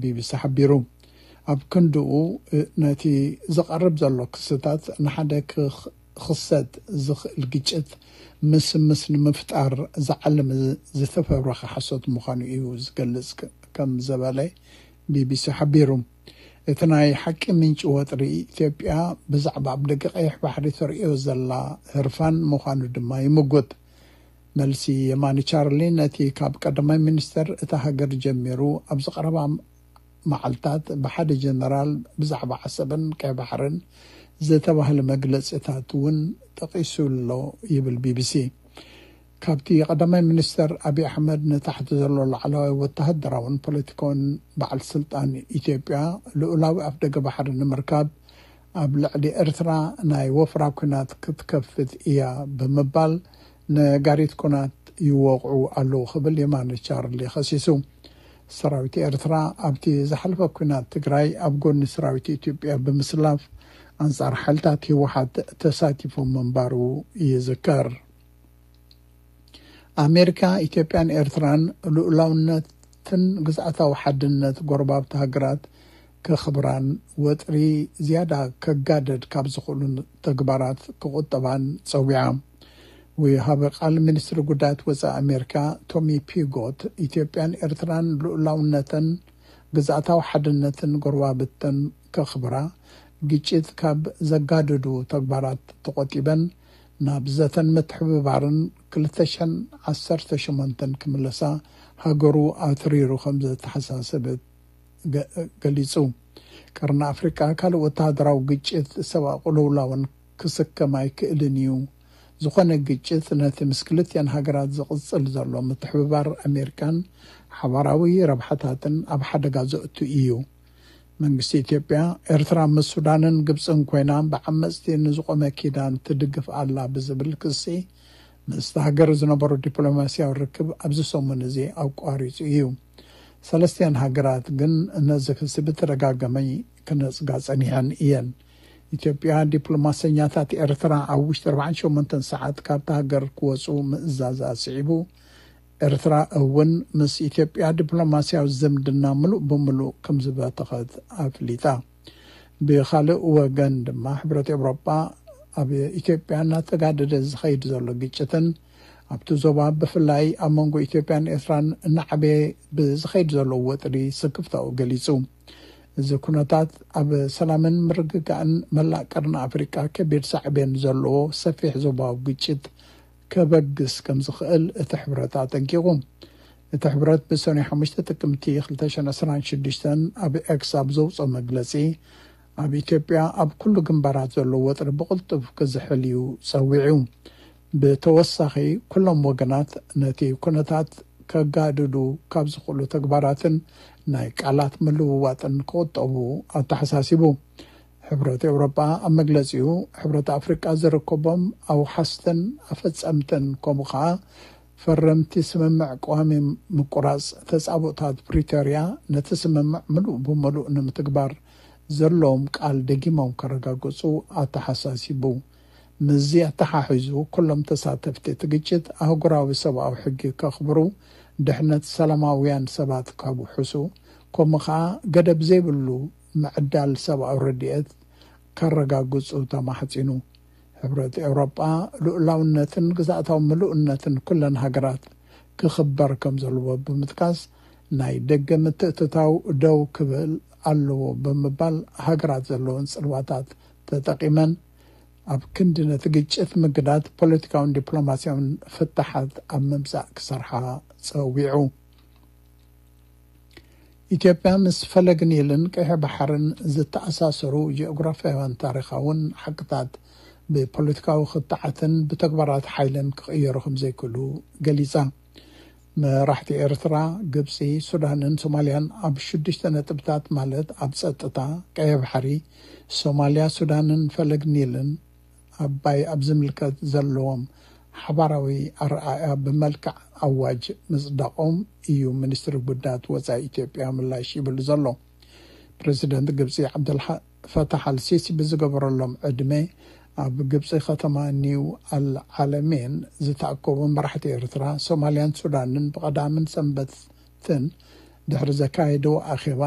ቢቢሲ ሓቢሩ። ኣብ ክንድኡ፣ ነቲ ዝቐርብ ዘሎ ክስታት ንሓደ ክኽ- ክኽሰት ዝኽእል ግጭት ምስምስ ንምፍጣር ዝዓለመ ዝተፈብረኸ ሓሶት ምዃኑ እዩ ዝገልጽ፣ ከም ዘበለ ቢቢሲ ሓቢሩ። እቲ ናይ ሓቂ ምንጪ ወጥሪ፣ ኢትዮጵያ ብዛዕባ ኣብ ደገ ቀይሕ ባሕሪ ተርእዮ ዘላ ህርፋን ምዃኑ ድማ ይምጉት። መልሲ የማኒ ቻርሊ ነቲ ካብ ቀዳማይ ሚኒስተር እታ ሃገር ጀሚሩ ኣብዚ ቀረባ መዓልታት ብሓደ ጀነራል ብዛዕባ ዓሰብን ቀይ ባሕርን ዝተባህለ መግለጺታት እውን ጠቒሱ ኣሎ ይብል ቢቢሲ። ካብቲ ቀዳማይ ሚኒስተር ኣብይ ኣሕመድ ንታሕቲ ዘሎ ላዕለዋይ ወተሃደራውን ፖለቲካውን በዓል ስልጣን ኢትዮጵያ፣ ልኡላዊ ኣፍደገ ባሕሪ ንምርካብ ኣብ ልዕሊ ኤርትራ ናይ ወፍራ ኲናት ክትከፍት እያ ብምባል ነጋሪት ኲናት ይወቕዑ ኣለዉ ክብል የማነ ቻርሊ ከሲሱ። ሰራዊት ኤርትራ ኣብቲ ዝሓለፈ ኲናት ትግራይ ኣብ ጎኒ ሰራዊት ኢትዮጵያ ብምስላፍ ኣንጻር ሓይልታት ህወሓት ተሳቲፉ ምንባሩ ይዝከር። ኣሜሪካ፣ ኢትዮጵያን ኤርትራን ልኡላውነትን ግዝኣታዊ ሓድነት ጎረባብቲ ሃገራት ከኽብራን ወጥሪ ዝያዳ ከጋደድ ካብ ዝኽእሉ ተግባራት ክቑጠባን ጸዊዓ። ወሃቢ ቃል ሚኒስትሪ ጉዳያት ወጻኢ ኣሜሪካ ቶሚ ፒጎት፣ ኢትዮጵያን ኤርትራን ልኡላውነተን ግዝኣታዊ ሓድነትን ጎረባብተን ከኽብራ፣ ግጭት ካብ ዘጋድዱ ተግባራት ተቖጢበን ናብ ዘተን ምትሕብባርን ክልተ ሽሕን ዓሰርተ ሸሞንተን ክምለሳ ሃገሩ ኣትሪሩ ከም ዘተሓሳሰበት ገ- ገሊጹ። ቀርኒ ኣፍሪቃ ካልእ ወተሃደራዊ ግጭት፣ ሰብኣዊ ቅልውላውን ክስከም ኣይክእልን እዩ። ዝኾነ ግጭት ነቲ ምስ ክልቲኣን ሃገራት ዝቕጽል ዘሎ ምትሕብባር ኣሜሪካን ሓባራዊ ረብሓታትን ኣብ ሓደጋ ዘእቱ እዩ። መንግስቲ ኢትዮጵያ፣ ኤርትራ ምስ ሱዳንን ግብጽን ኮይና ብዓመጽቲ ንዝቖመ ኪዳን ትድግፍ ኣላ ብዝብል ክሲ ምስቲ ሃገር ዝነበሮ ዲፕሎማስያዊ ርክብ ኣብዚ ሰሙን እዚ ኣቋሪጹ እዩ። ሰለስቲኣን ሃገራት ግን ነዚ ክሲ ብተደጋጋሚ ክነጽጋ ጸኒሐን እየን። ኢትዮጵያ ዲፕሎማሰኛታት ኤርትራ ኣብ ውሽጢ ኣርባዓን ሸሞንተን ሰዓት ካብታ ሃገር ክወጹ ምእዛዝ ኣስዒቡ፣ ኤርትራ እውን ምስ ኢትዮጵያ ዲፕሎማስያዊ ዝምድና ምሉእ ብምሉእ ከም ዝበተኸት ኣፍሊጣ። ብኻልእ ወገን ድማ ሕብረት ኤውሮጳ ኣብ ኢትዮጵያ እናተጋደደ ዝኸይድ ዘሎ ግጭትን ኣብቲ ዞባ ብፍላይ ኣብ መንጎ ኢትዮጵያን ኤርትራን እናዓበየ ብዝኸይድ ዘሎ ወጥሪ ስክፍታኡ ገሊጹ። እዚ ኩነታት ኣብ ሰላምን ምርግጋእን መላእ ቀርኒ ኣፍሪቃ ከቢድ ሳዕቤን ዘለዎ ሰፊሕ ዞባዊ ግጭት ከበግስ ከም ዝኽእል እቲ ሕብረት ኣጠንቂቑ። እቲ ሕብረት ብሰኑይ ሓሙሽተ ጥቅምቲ ክልተ ሽሕን ዕስራን ሽዱሽተን ኣብ ኤክስ ኣብ ዘውፅኦ መግለፂ፣ ኣብ ኢትዮጵያ ኣብ ኩሉ ግንባራት ዘሎ ወጥሪ ብቕልጡፍ ክዝሕል እዩ ፀዊዑ። ብተወሳኺ፣ ኩሎም ወገናት ነቲ ኩነታት ከጋድዱ ካብ ዝኽእሉ ተግባራትን ናይ ቃላት ምልውዋጥን ክቑጠቡ ኣተሓሳሲቡ። ሕብረት ኤውሮጳ ኣብ መግለጺኡ፣ ሕብረት ኣፍሪቃ ዝርከቦም ኣውሓስትን ኣፈጸምትን ከምኡ ኸኣ ፈረምቲ ስምምዕ ቀዋሚ ምቁራጽ ተጻብኦታት ፕሪቶርያ ነቲ ስምምዕ ምሉእ ብምሉእ ንምትግባር ዘለዎም ቃል ደጊሞም ከረጋግጹ ኣተሓሳሲቡ። ምስዚ ኣተሓሒዙ፣ ኩሎም ተሳተፍቲ እቲ ግጭት ኣህጉራዊ ሰብኣዊ ሕጊ ከኽብሩ፣ ድሕነት ሰላማውያን ሰባት ከውሕሱ፣ ከምኡ ኸኣ ገደብ ዘይብሉ ምዕዳል ሰብኣዊ ረድኤት ከረጋግጹ ተማሕጺኑ። ሕብረት ኤውሮጳ ልኡላውነትን ግዝኣታዊ ምሉእነትን ኩለን ሃገራት ክኽበር ከም ዘለዎ ብምጥቃስ፣ ናይ ደገ ምትእትታው ደው ክብል ኣለዎ ብምባል፣ ሃገራት ዘለወን ጽልዋታት ተጠቒመን ኣብ ክንዲ ነቲ ግጭት ምግዳድ፣ ፖለቲካውን ዲፕሎማስያውን ፍታሓት ኣብ ምምጻእ ክሰርሓ ጸዊዑ። ኢትዮጵያ ምስ ፈለግ ኒልን ቀይሕ ባሕርን ዝተኣሳሰሩ ጂኦግራፍያውን ታሪኻውን ሓቅታት ብፖለቲካዊ ክትዓትን ብተግባራት ሓይልን ክቕየሩ ከም ዘይክእሉ ገሊጻ። መራሕቲ ኤርትራ፣ ግብጺ፣ ሱዳንን ሶማልያን ኣብ ሽዱሽተ ነጥብታት፣ ማለት ኣብ ጸጥታ፣ ቀይሕ ባሕሪ፣ ሶማልያ፣ ሱዳንን ፈለግ ኒልን ኣባይ ኣብ ዝምልከት ዘለዎም ሓባራዊ ኣረኣእያ ብመልክዕ ኣዋጅ ምጽዳቖም እዩ ሚኒስትሪ ጉዳያት ወጻኢ ኢትዮጵያ ምላሽ ይብል ዘሎ። ፕረዚደንት ግብጺ ዓብደል ፈታሕ ኣልሲሲ ብዝገበረሎም ዕድመ፣ ኣብ ግብጺ ከተማ ኒው ኣል ዓለሜን ዝተኣከቡ መራሕቲ ኤርትራ፣ ሶማልያን ሱዳንን ብቐዳምን ሰንበትን ድሕሪ ዘካየድዎ ኣኼባ